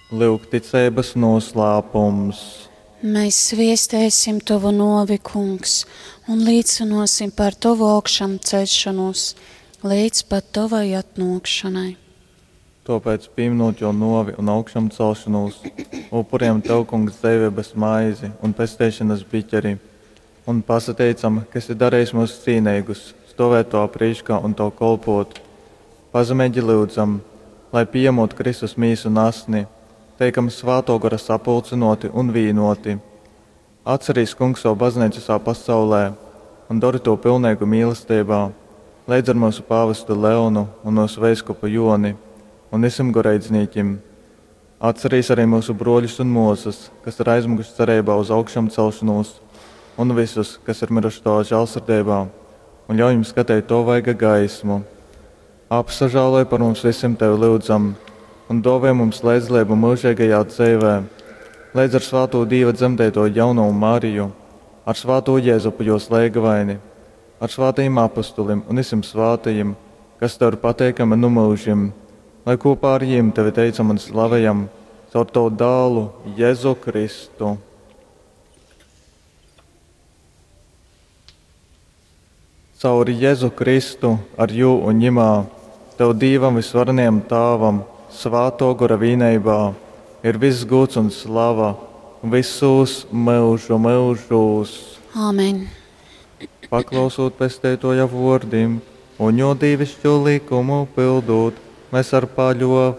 Lyugticeibas nūslāpums. Mēs sviestēsim Tovu novi, Kungs, un līcinosim par Tovu augšām ceļšanos līdz pat Tovai atnākšanai. Tāpēc, pieminot jo novi un augšām celšanos, upuriem Tev, Kungs, dzīvības maizi un pesteišanas biķeri, un pasateicam, ka esi darījis mūs cīnīgus, stovēt to prīškā un to kolpot. Pazemīgi lūdzam, lai pieņemot Kristus mīsu un asni, teikam svēto gara sapulcinoti un vīnoti. Atcerīs, Kungs, savu baznīcu visā pasaulē un dari to pilnīgu mīlestībā, līdz ar mūsu pāvestu Leonu un mūsu veiskupu Joni un visiem goreidznīkim. Atcerīs arī mūsu broļus un mūsas, kas ir aizmuguši cerībā uz augšām celšanos, un visus, kas ir miruši to žēlsirdībā, un ļauj jums skatīt to vaiga gaismu. Apsažāloj par mums visiem tevi lūdzam, un dāvē mums līdzdalību mūžīgajā dzīvē, līdz ar svāto Dieva dzemdēto jauno Mariju, ar svāto Jēzupu jos lēgavaini, ar svātajiem apustulim un visiem svātajiem, kas tev ir pateikami nu mūžim, lai kopā ar jiem tevi teicam un slavējam caur tavu dālu Jēzu Kristu. Caur Jēzu Kristu, ar jū un ņimā, tev Dīvam visvarenajam Tāvam, svāto gora vīneibā, ir viss gūts un slava visos mūžu mūžos. Āmen. Paklausot pesteitoja vārdim un jo dīvišķo likumu pildot, mēs ar paļovēm.